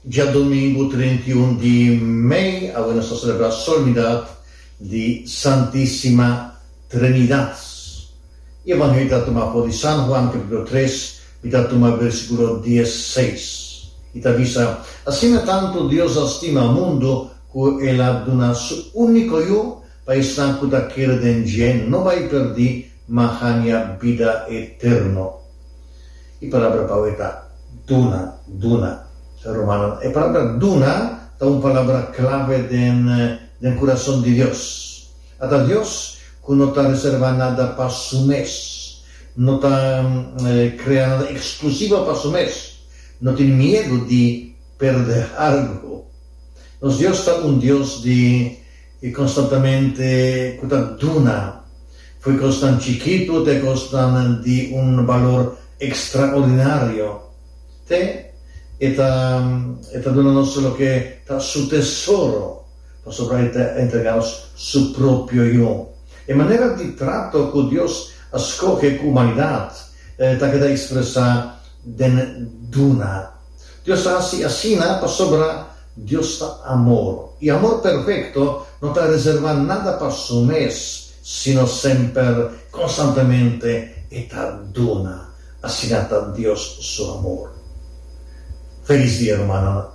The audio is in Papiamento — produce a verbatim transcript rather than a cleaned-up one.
Djadumingu trinta i un di mei, awe nos ta selebrá solemnidat di Santísima Trinidat. E Evangelio ta tumá for di San Juan kapítulo tres, mi ta tuma versíkulo dies seis. I ta bisa, Asina tantu Dios a stima mundu ku el a duna su úniko Yu, pa esnan ku ta kere den dje no bai pèrdí, ma haña bida eterno. E palabra pa awe ta duna, duna. Rumannan, e palabra duna ta un palabra clave den den curason di Dios. Ata Dios cu no ta reserva nada pa su mes, no ta crea nada exclusivo pa su mes, no tin miedo di perde algo. Nos Dios ta un Dios di constantamente cu ta duna, fo'i cosnan chikito te cosnan di un balor extraordinario. Te e ta e ta duna nos loke ta su tesoro, pasobra e ta entrega nos su propio Yu. E manera di trato ku Dios a skohe ku humanidat ta keda ekspresá den duna. Dios ta hasi asina pasobra Dios ta amor, i amor perfekto no ta reservá nada pa su mes, sino semper, konstantemente, e ta duna. Asina ta Dios su amor. Felis dia rumannan.